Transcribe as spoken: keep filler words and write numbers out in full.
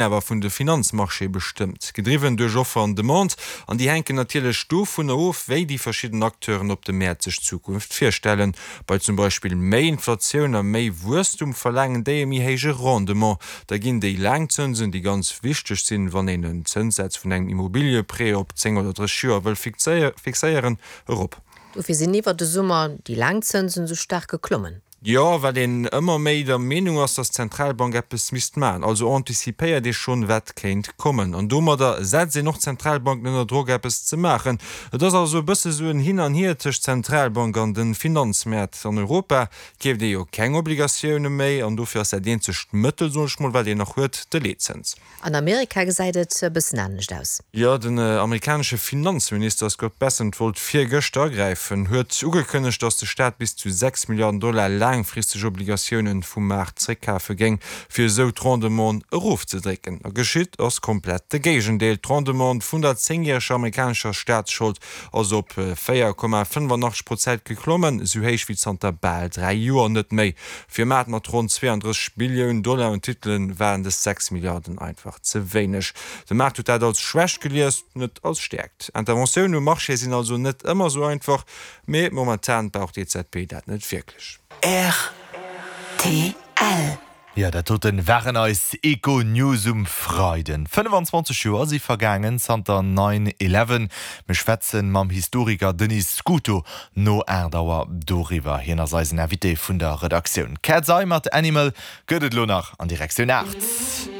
awer vun de Finanzmarchéë bestëmmt, gedriwwen duerch Offer an Demande, an déi hänken natierlech dovunner of, wéi déi verschidden Acteuren op de Mäert sech d'Zukunft virstellen. Bei zum Beispill méi Inflatioun a méi Wuesstum verlaangen déi e méi héije Rendement. Da ginn déi laang Zënsen, déi ganz wichteg sinn, wann een en Zënssaz vun engem Immobilieprêt op zéng oder drësseg Joer wëll fixéieren, erop. Dofir sinn iwwer de Summer déi laang Zënsen esou staark geklommen. Jo, well een ëmmer méi der Meenung ass, datt d'Zentralbank eppes misst maachen. Also anticipéiert ee schonn, wat kéint kommen. An domadder setzt een och d'Zentralbanken ënner Drock, eppes ze maachen. Et ass also e bësse sou en Hin an Hier tëscht Zentralbank an de Finanzmäert. An Europa keeft ee jo keng Obligatioune méi an dofir ass dat eenzegt Mëttel, soen ech mol, wat een nach huet, de Leetzëns. An Amerika gesäit et e bëssen anescht aus. Jo, den amerikanesche Finanzminister Scott Bessent wollt virgëschter agräifen, huet ugekënnegt, datt de Staat bis zu sechs Milliarden Dollar laangfristeg Obligatiounen vum Maart zréckkafe géing, fir esou d'Rendementen erofzedrécken. A geschitt ass komplett de Géigendeel, D'Rendement vun der zéngjäreger amerikanescher Staatsschold ass op véier Komma fënnefanachteg Prozent geklommen, esou héich wéi zanter bal dräi Joer net méi. Fir e Maart mat ronn zweeandrësseg Billioun Dollar un Titelen waren dës sechs Milliarden einfach ze wéineg. De Maart huet dat als Schwächt gelies, net als Stäerkt. Interventiounen um Marché sinn also net ëmmer esou einfach, mee momentan brauch d'EZB dat net wierklech. Rtl. Jo, dat doten waren eis Econews um Freiden. fënnefenzwanzeg Joer si vergaangen zanter nine eleven. Mir schwätzen mam Historiker Denis Scuto no aacht Auer doriwwer. Hien ass eisen Invité vun der Redaktioun. Cat's Eye mat Animal gëtt et elo nach an Direktioun aacht.